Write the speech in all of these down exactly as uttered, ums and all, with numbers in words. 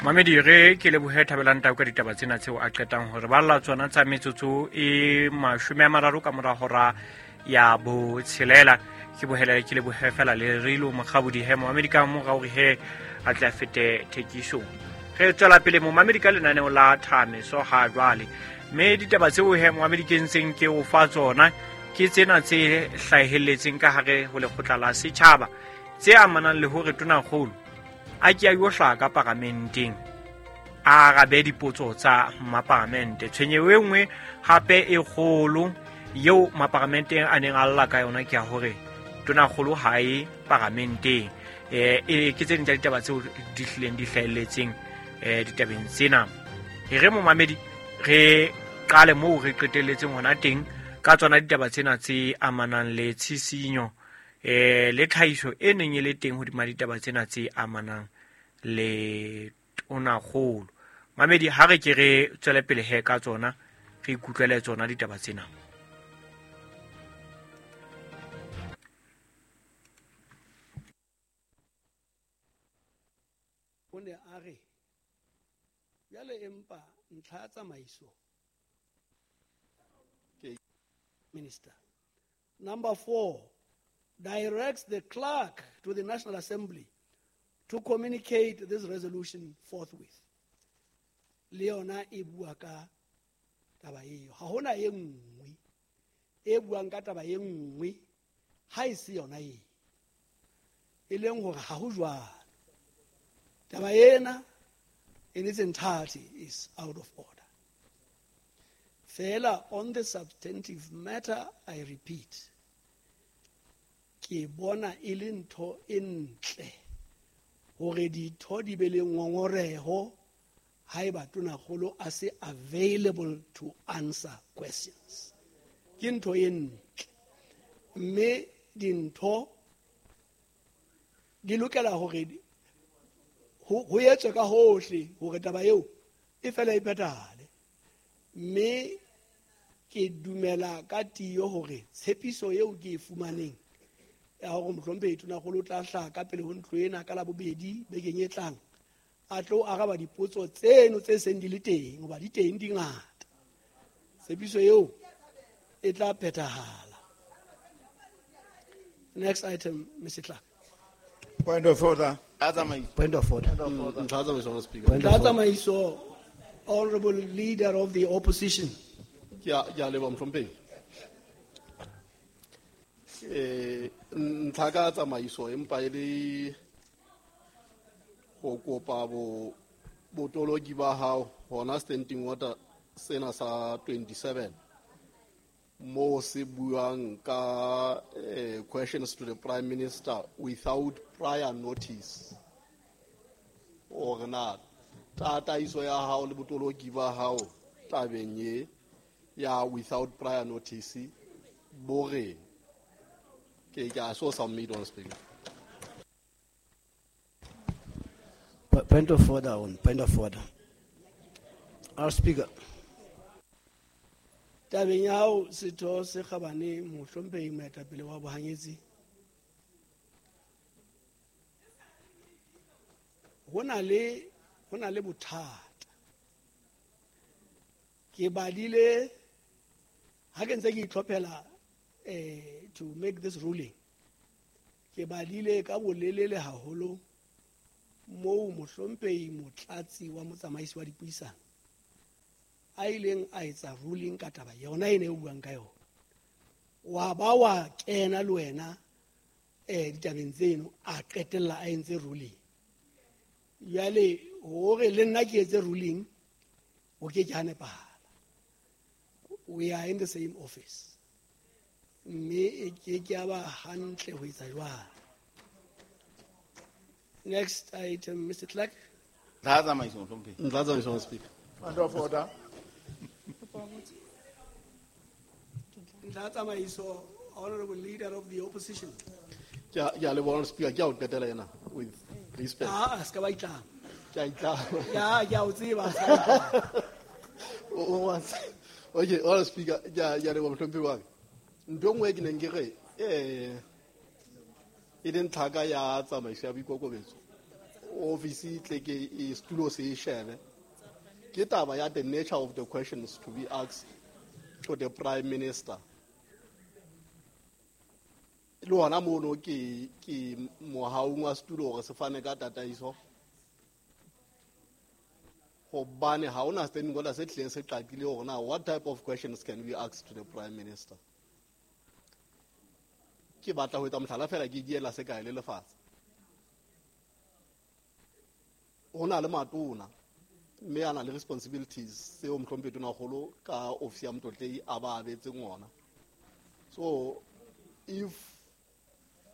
Mamedi re ke lebohe Thabelang Tau ka ditaba tsena tseo a qetang hore ba lla tsona tsa metsotso e mashome a mararo ka mora hora ya botshelela. Ke bohela ke lebohe fela le Rilo Mokgabodi he momamedi ka mora hore he a tla fete thekisong. Re tswela pele momamedi ka lenaneo la Thameso ha jwale, mme ditaba tseo he momamedi ke ntseng ke o fa tsona ke tsena tse hlahelletseng ka hare ho lekgotla la setjhaba tse amanang le hore tonakgolo a ke a yo hlaha ka paramenteng a arabe dipotso tsa maparamente. Tshwenyeho e nngwe hape e kgolo eo maparamenteng a neng a lla ka yona ke ya hore tonakgolo ha e paramenteng. Eh, e ke tse ding tsa ditaba tseo di hlileng di hlahelletseng eh ditabeng tsena. E re momamedi re qale moo re qetelletseng hona teng ka tsona ditaba tsena tse amanang le tshisinyo eh le tlhahiso e neng e le teng hodima ditaba tsena tse amanang le tonakgolo. Mamedi ha re ke re tswele pele he ka tsona re ikutlwele tsona ditaba tsena. O ne a re jwale empa ntlha ya tsamaiso Minister. Number four, directs the clerk to the National Assembly to communicate this resolution forthwith. Le yona e bua ka taba eo. Ha hona e nngwe e buang ka taba e nngwe ha e se yona e. E leng hore ha ho jwalo. Taba ena in its entirety is out of order. Fela on the substantive matter, I repeat, ke bona e le ntho e ntle hore ditho di be le ngongoreho haeba tonakgolo a se available to answer questions. Ke ntho e ntle. Mme dintho di lokela hore ho etswe ka hohle hore taba eo e fela e phethahale. Mme ke dumela ka tiyo hore tshepiso eo ke e fumaneng ya hore mohlomphehi tonakgolo o tla hlaha ka pele ho ntlo ena ka Labobedi bekeng e tlang a tlo araba dipotso tseno tse seng di le teng hoba di teng di ngata. Tshepiso eo e tla phethahala. Next item, Mister Clark. Point of order. Point of order. Point of order. Honorable Leader of the Opposition. Ke a leboha mohlomphehi. Eh ntlha ka tsamaiso empa e le go kopa bo botoloki ba hao hona standing order sena sa twenty-seven mo se buang ka eh, questions to the Prime Minister without prior notice. Hore na tataiso ya hao le botoloki ba hao tabeng e ya without prior notice bo re ke ke a so submit on speaker. Point of order on point of order. Our Speaker. Tabeng ya hao setho se kgabane mohlomphehi moetapele wa bohanyetsi. Ho na le ho na le bothata. Ke badile ha ke ntse ke itlhophela eh to make this ruling. Ke badile ka bolelele haholo moo mohlomphehi motlatsi wa motsamaisi wa dipuisano a ileng a etsa ruling ka taba yona ene e buang ka yona. Wa ba wa kena le wena eh ditabeng tseno a qetella a entse ruling. Jwale hore le nna ke etse ruling o ke ke ha nepahala. We are in the same office. Mme e ke ke a ba hantle ho etsa jwalo. Next item, Mister Clark. Ntlha tsamaiso mohlomphehi. Ntlha tsamaiso, Speaker. Point of order. Ntlha tsamaiso, Honorable Leader of the Opposition. Ke a leboha, Speaker, ke a o qetela ena with respect. Ah, se ka ba itlama. Ke a itlama. Ya, ke a o tseba, se ka itlama. O wa Okay, Honorable Speaker, ke a ke a leboha mohlomphehi wa ka. Ntho e nngwe ke neng ke re eh e leng tlhaka ya tsamaiso ya boikokobetso. O Office tle ke e setulo se e shebe. Ke taba ya the nature of the questions to be asked to the Prime Minister. Le hona mono ke ke mohaung wa setulo hore se fane ka tataiso. Hobane ha hona standing order se tlileng se qaqile hore na what type of questions can we ask to the Prime Minister. Ke batla ho etsa mohlala fela ke diela se kae le lefatshe. Ho na le matona mme a na le responsibilities tseo mohlomphehi Tonakgolo ka office ya Motlotlei a ba abetseng ona. So if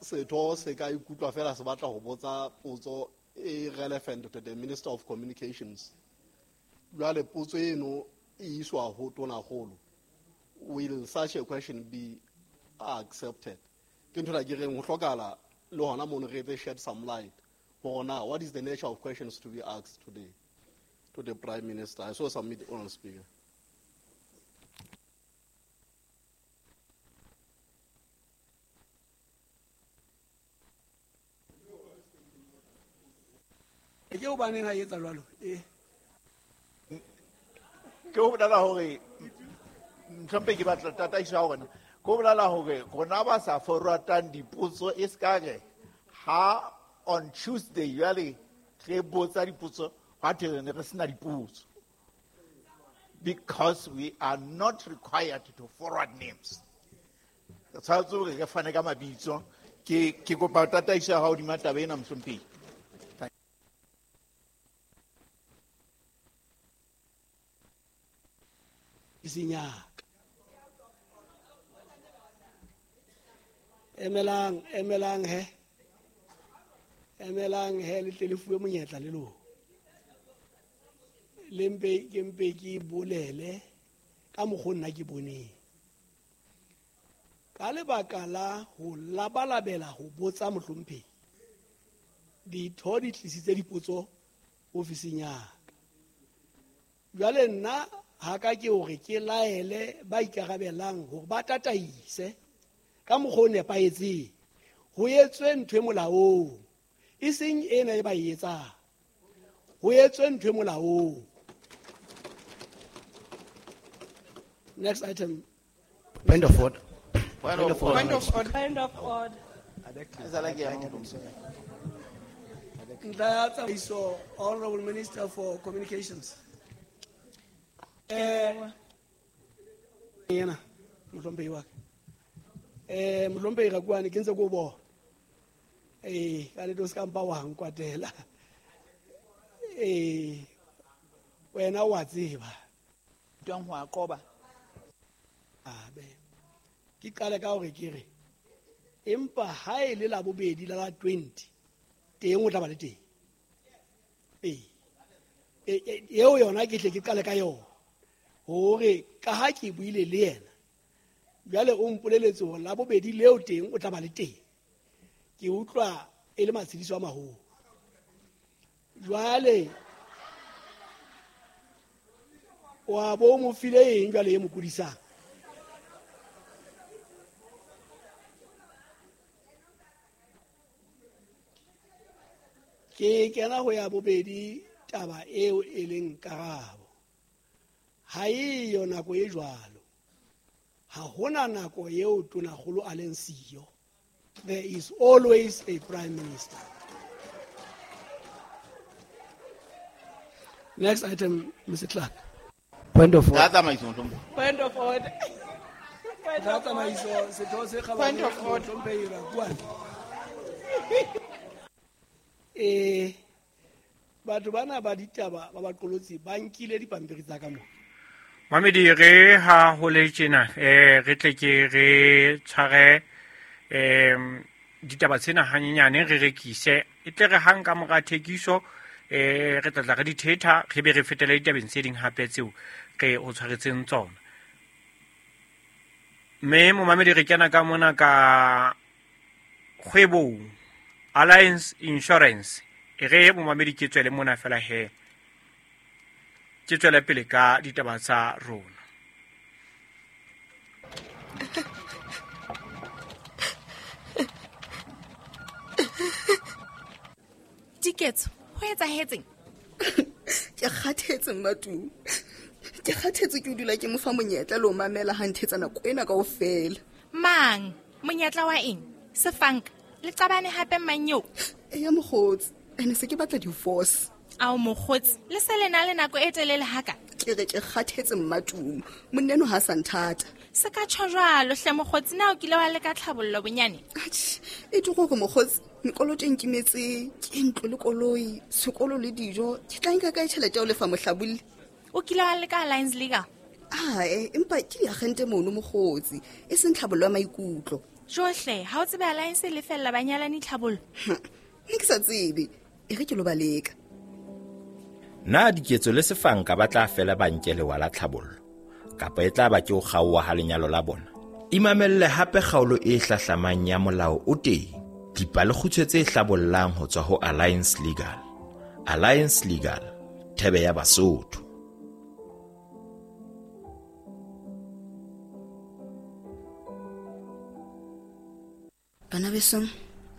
setho se ka ikutlwa fela se batla ho botsa potso e relevant to the Minister of Communications, jwale potso eno e iswa ho Tonakgolo, will such a question be accepted? Ke ntho ke reng ho hlokahala le hona mono re etse shed some light hore na what is the nature of questions to be asked today to the Prime Minister. I so submit, Honourable Speaker. Ke hobaneng ha e etsa jwalo? Eh. Ke ho bolela hore mohlomphehi ke batla tataiso ya rona. Ke ho bolela hore rona ba sa forwardang dipotso e ska re ha on Tuesday jwale re botsa dipotso hwa thwe re ne re sena dipotso. Because we are not required to forward names. Re tshwanetse hore re fane ka mabitso. Ke ke kopa tataiso ya hao hodima taba ena mohlomphehi. Isinyaka. Emelang, emelang he. Emelang he le tle le fuwe monyetla le lona. Le mpe ke mpe ke bolele ka mokgwa nna ke boneng. Ka lebaka la ho labalabela ho botsa mohlomphehi, ditho di tlisitse dipotso ofising ya ka. Jwale nna ha ka ke hore ke laele ba ikarabelang hore ba tataise ka mokgwa o nepahetseng, ho etswe ntho e molaong, e seng ena e ba e etsang. Ho etswe ntho e molaong. Next item. Point of order. Point of order. Point of order. Point of order. Ntlha ya tsamaiso, Honorable Minister for Communications. Eh, yena mohlomphehi wa ka. Eh, mohlomphehi Rakuane ke ntse ke o bona. Eh, ka nnete o ska mpa wa nkwatela. Eh, wena wa tseba. Twang ho a qoba. Abe. Ke qale ka hore ke re empa ha e le la bobedi la la twenty teng o tla ba le teng. Eh. Eh, eo yona ke tle ke qale ka yona. Hore ka ha ke buile le yena jwale o mpoleletse hore la bobedi leo teng o tla ba le teng. Ke utlwa e le matshediso a maholo. Jwale wa bo mo file eng jwale e mo kudisang? Ke kena ho ya bobedi taba eo e leng karabo. Ha eyo nako e jwalo. Ha hona nako eo Tonakgolo a leng siyo. There is always a Prime Minister. Next item, Mister Clark. Point of order. Point of order. Point of order. Eh, batho bana ba ditaba ba baqolotsi ba nkile dipampiri tsa ka mo. Mamedi re ha ho le tjena eh re tle ke re tshware em ditaba tsena hanyenyane re rekise e tle re hang ka mora thekiso eh re tla tla re dithetha re be re fetele ditabeng tse ding hape tseo re o tshwaretseng tsona. Mme momamedi re kena ka mona ka kgwebong Alliance Insurance e re momamedi ke tswele mona fela he ke tswele pele ka ditaba tsa rona. Diketso, Ho etsahetseng? Ke kgathetse Mmatumi. Ke kgathetse ke o dula ke mo fa monyetla le ho mamela ha nthetsa nako ena kaofela. Mang? Monyetla wa eng? Sefanka le qabane hape mang eo? Eya mokgotsi, ene se ke batla divorce. Ao mokgotsi, le se le na le nako e telele haka. Ke re ke kgathetse Mmatumi. Monna eno ha sa nthata. Se ka tjho jwalo hle mokgotsi, na o kile wa leka tlhabollo bonyane? Atjhe, e tlo gore mokgotsi, mekoloto e nkimetse, ke ntlo le koloi, sekolo le dijo, ke tla nka kae tjhelete ya ho lefa mohlabolli? O kile wa leka Alliance Legal? Ae, empa ke diagente mono mokgotsi, e seng tlhabollo ya maikutlo. Johle, ha o tsebe Alliance e lefella banyalani tlhabollo? Ne ke sa tsebe, e re ke lo ba leka. Na Diketso le Sefanka ba tla fela ba nke lewa la tlhabollo kapa e tla ba ke ho kgaoha ha lenyalo la bona? Imamelle hape kgaolo e hlahlamang ya Molao o Teng, dipalekgutshwe tse hlabollang ho tswa ho Alliance Legal. Alliance Legal, thebe ya Basotho. Bana besong,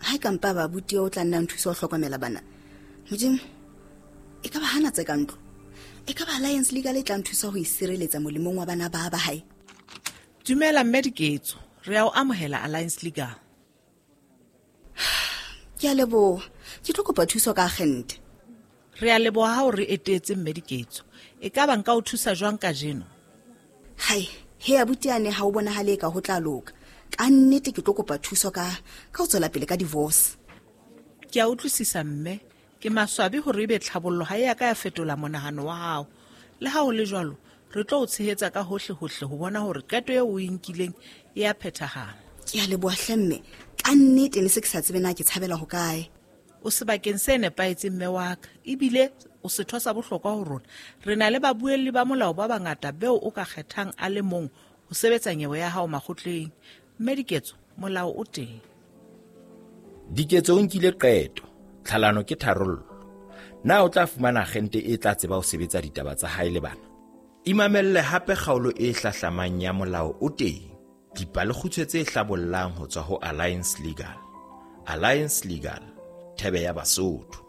ha e ka mpa ba abuti o tla nna nthusa ho hlokomela bana. Modimo, e ka ba hana tse ka ntlo. E ka ba Alliance Legal e tla nthusa ho isireletsa molemong wa bana ba ba hae. Dumela mme Diketso, re a o amohela Alliance Legal. Ke a leboha. Ke tlo kopa thuso ka agente. Re a leboha ha o re etetse mme Diketso. E ka ba nka o thusa jwang kajeno? Hai, he abuti ane ha o bonahale ka ho tla loka. Ka nnete ke tlo kopa thuso ka ka ho tswela pele ka divorce. Ke a utlwisisa mme. Ke maswabi hore ebe tlhabollo ha e ya ka ya fetola monahano wa hao. Le ha ho le jwalo, re tlo o tshehetsa ka hohle hohle ho bona hore qeto eo o e nkileng e a phethahala. Ke a leboha hle mme. Ka nnete ne se ke sa tsebe na ke tshabela ho kae. O sebakeng se nepahetseng mme wa ka, ebile o setho sa bohlokwa ho rona. Re na le babuelli ba molao ba bangata beo o ka kgethang a le mong ho sebetsa nyewe ya hao makgotleng. Mme Diketso, molao o teng. Diketso o nkile qeto. Tlhalano ke tharollo. Na o tla fumana agente e tla tseba ho sebetsa ditaba tsa hae le bana? Imamelle hape kgaolo e hlahlamang ya Molao o Teng, dipalekgutshwe tse hlabollang ho tswa ho Alliance Legal. Alliance Legal, thebe ya Basotho.